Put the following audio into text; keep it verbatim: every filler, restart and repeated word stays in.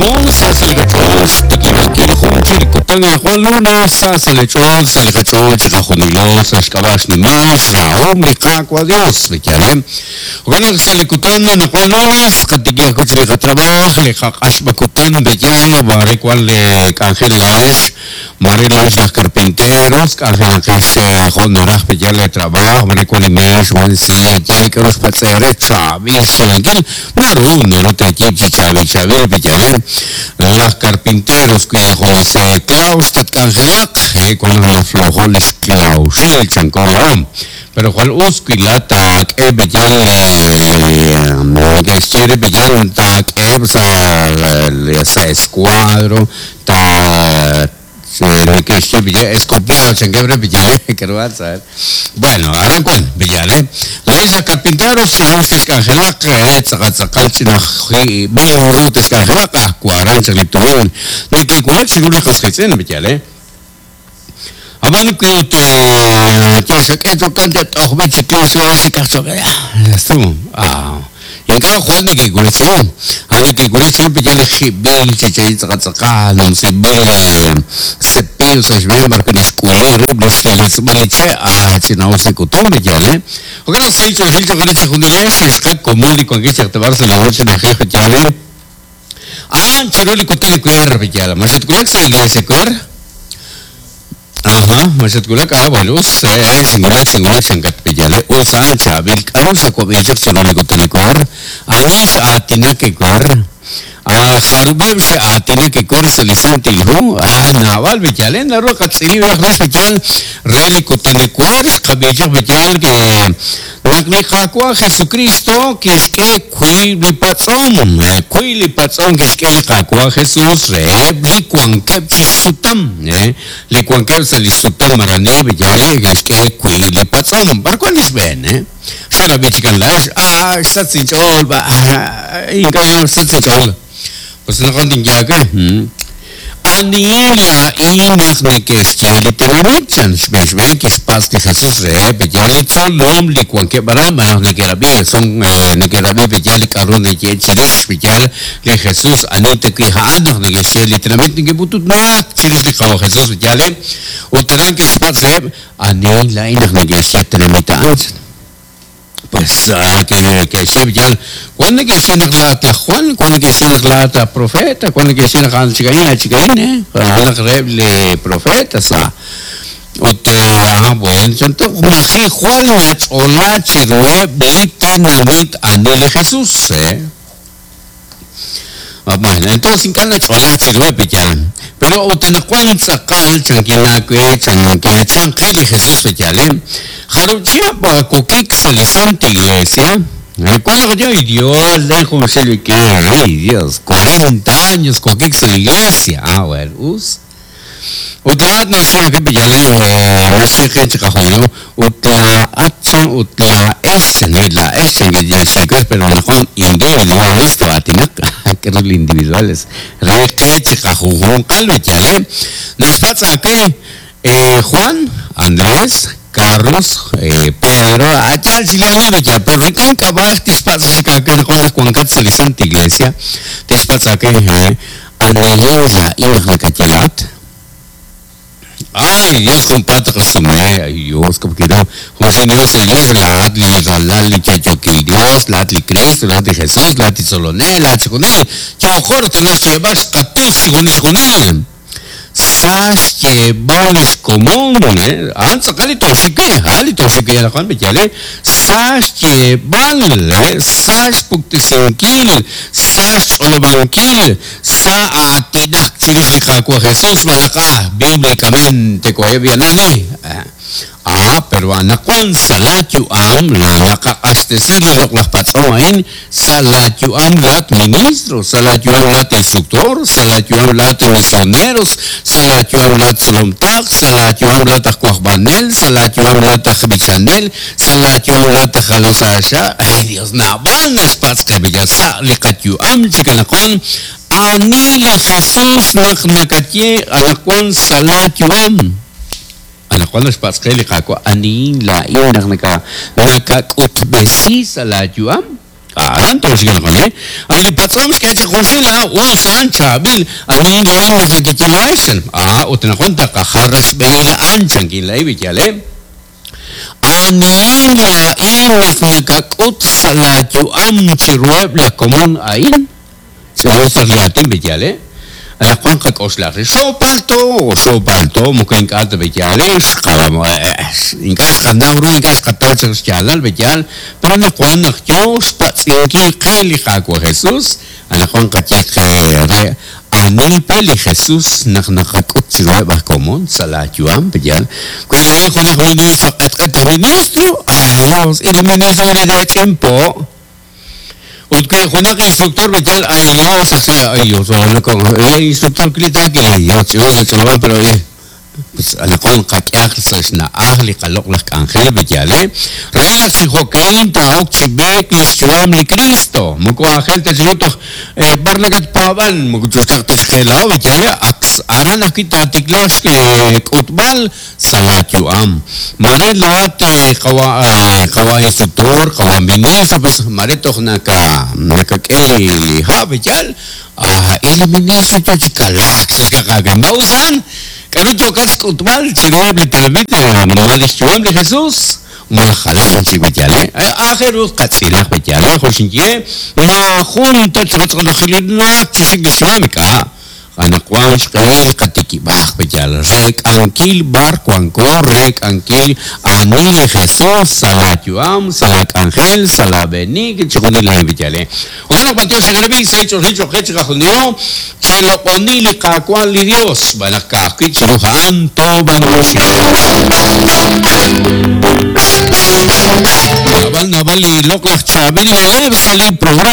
komon sa sa li qach'ool xtikib'ankil jun chi li kutan anaqwan lunes sa sa li ch'ool sa li qach'ool chiqajunilo sa xk'ab'a' xnimal xrahom li Qaawa' Dios b'iyale jo'kan naq sa li kutan anaqwan lunes qatikij ajwi' chi li qatrabaaj li qaq'axb'a kutan b'iyal mare wan li k'anjel laa'ex mare laa'ex laj carpinteros k'anjelaqex jo' naraj b'iyal li trabaaj mare wan li meex wan silla yal k'aru xpatz'e're chaab'il xsumenkil naru naru teeyiib' chi chaab'il chaab'il b'iyale laj carpinteros wi junes claus tatk'anjelaq wan naflojo li xklauxil chanko la'om pero jwal us wi laat taak'e b'iyal neke'xye re b'iyal taak'eheb' sa sa escuadro ta neke'xye b'iyal escopiado chankeb' re b'iyal k'aru saber bueno aran wan b'iyal laa'ex laj carpinteros us texk'anjelaq tz'aqal tz'aqal ch'inaj ru texk'anjelaq ah waran chaq li tumin neke'wulak chiru li qas qiitz'in b'iyal Ab'an wi ut xak'e chokan t'ojb'e chi claus xikaj choq estuvo ah ink'a' jwal neke'wulak chiru a neke'wulak chiru b'iyal li jib'il chi chay tz'aqal tz'aqal numsib'il cepillo sa' xb'een b'ar wi' naxk'uli rib' li xletz'b'al li che' ah ch'ina'us li k'utum b'iyal jo'kan naq sahil ch'oolejil cho'q re chijunilex xqak komon li wankil chaq sa' li roch na'ajej b'iyal ah chiru li kutan ewer b'iyal ma xatwulak sa' iglesia ewer. Ajá, ma xatwulak ah bueno us xinwulak xinwulak xankat b'iyale us a'an chaab'il k'aru xawab'i chaq chiru li kutan ewer ani x'aatinak ewer ah jarub'eb' xe'aatinak ewer sa' li Santil Hu ah naab'al b'iyale naru qatz'ilib' raj rix b'iyal re li kutan ewer xqab'i chaq b'iyal ke naq li Qaawa' Jesucristo kixk'e wiib' li patz'om wiib' li patz'om kixk'e li Qaawa' Jesus reheb' li wankeb' chi sutam li wankeb' sa' li sutam marani b'iyale kixk'e wiib' li patz'om b'ar wan li xb'een xerab'i chikan laa'ex ah xsach inch'ool ink'a' xsach inch'ool pues naqon tinyaake anihin laa'in naq neke'xye li tenamit chan xb'een xb'een kixpatz' li Jesus reheb' b'iyal li tzolom li wankeb' aran malaj neke'rab'i son neke'rab'i b'iyal li k'aru neke'ye chirix b'iyal li Jesus ani ta wi' a'an naq neke'xye li tenamit neke'pututnak chirix li Qaawa' Jesus b'iyal ut aran kixpatz' reheb' anihin laa'in naq neke'xye tenamit a'an pues que que b'iyal wan neke'xye naq laat laj Juan wan neke'xye naq laat laj profeta wan neke'xye naq a'an chika'in achika'in eh naq reheb' li profetas ut ah bueno chanto maji Juan nach'ola chiruheb' li tenamit ani li Jesus eh bueno entonces ink'a' nach'ola chiruheb' b'iyal pero ut anaqwan tz'aqal chankinaawe chanke chanqe li Jesus b'iyal jarub' chihab' kokik sa' li Santa Iglesia ¿Cuándo yo? Ay, Dios, dejo que ay, Dios, cuarenta años kokik sa' la iglesia. Ah, bueno, us. Utlaat naxye ke b'iyale naxye qe chiqajunilo utlaat utlaex laex chanki pero naqwan individuales toatinaq k'aru li individuales re qe chiqajunjunqal b'iyale naxpatz' ake Juan, Andrés, Carlos, eh, Pedro, allá chileno ya, pero ink'a' k'ab'aj tixpatz' chikake naqwan wankat sa' li Santa Iglesia tixpatz' ake anihin laa'in naq nakatyelat. Ay, Dios, compadre, resume. Ay, Dios, como que no. José Dios, Iglesia, lahat li ralal li chachokil Dios, lahat li Cristo, lahat li Jesús, lahat li Solonel, lahat chikunil. Chokor, tenés que llevar xkatus, chikunil, chikunil. Sax llevar común, eh. Ah, tz'aqal li toxike, ah, li toxike yalaqan b'iyale. Sax llevar, eh. Sax puktisinkil, sax ch'olobankil, sa aatinak chirix li Qaawa' Jesus malaj ah bíblicamente ko'eb' ah, pero anaqwan sa la yu'am la naqaq'axtesi li loq'laj patz'om a'in sa la yu'am laat ministro, sa la yu'am laat instructor, sa la yu'am laat misioneros, sa la yu'am laat tzolomtaq, sa la yu'am laat aj wajb'anel, sa la yu'am laat aj b'ichanel, sa la yu'am laat aj jalosaaxa. Ay, Dios, naab'al naxpatz' qe b'iyal sa li qayu'am chikanaqwan ani li Jesus naq nakaye anaqwan sa la yu'am. Anaqwan naxpatz' qe li Qaawa' anihin laa'in naq naka nakak'utb'esi sa' la yu'am. Aran toxikilaqani ay li patz'om xk'e chaq junxil ah usan chaab'il ani laa'in naq nakeyelax ah ut anaqwan taqajar xb'ehil a'an chankin la'in b'iyal eh anihin laa'in naq nakak'ut sa' laayu'am chiruheb' la komon a'in ch'ilosaq li aatin b'iyal eh anaqwan qak'oxlaq xoopalto xoopalto moko ink'a' ta b'iyal eh ink'a' xqanaw ru ink'a' xqataw chaq xyaalal b'iyal pero anaqwan naq yoo xpatz'inkil qe li Qaawa' Jesus anaqwan qaye qe re anil pe li Jesus naq naqak'ut chiruheb' aj komon sa' laayu'am b'iyal wi laa'in junaq ministro q'etq'et ministro ay Dios y li ministro li po ut wi junaq instructor b'iyal ay Dios ay Dios el instructor klita que Dios ch'ilo ch'ilo pero pues anaqwan qak'eaq sa' xna'aj li qaloq' laj k'anjel b'iyal eh re naq chi jo'kan taa'ok chi b'eek li xyu'am li Cristo moko aajel ta chiru toj b'ar nakatpaab'an moko chuxtaq ta xjeelao b'iyal ak aran ajwi' taatiklaaq k'utb'al sa' laayu'am mare laat qawa qawa instructor qawa ministro pues mare toj naka nakak'e li li ha' b'iyal ah il ministro yo chi kalaak sa' xkaqakan b'awsan k'aru yookat xk'utb'al chiruheb' li tenamit ma li xyu'am li Jesus ma jalan chik b'iyal eh aajel ru qatz'ilaq b'iyal eh jo' xinye maajun ta chiqatz'ilajilinaak chi xik li xyu'am ink'a' anaqwan xq'ehil qatikib'aj b'iyal rek'ankil b'ar wanko rek'ankil ani li Jesus sa' laayu'am sa' laak'anjel sa' laab'enik chixjunil a'in b'iyal eh jo'kan naq b'antiox xe'qarab'i sa' ch'oxil cho'qe chiqajunilo cheloq'oni li Qaawa' li Dios xb'aan naq ka'ajwi' chiru a'an toob'anyoxi Nab'al nab'al li loq' laj chaab'il na'leb' sa' li programa.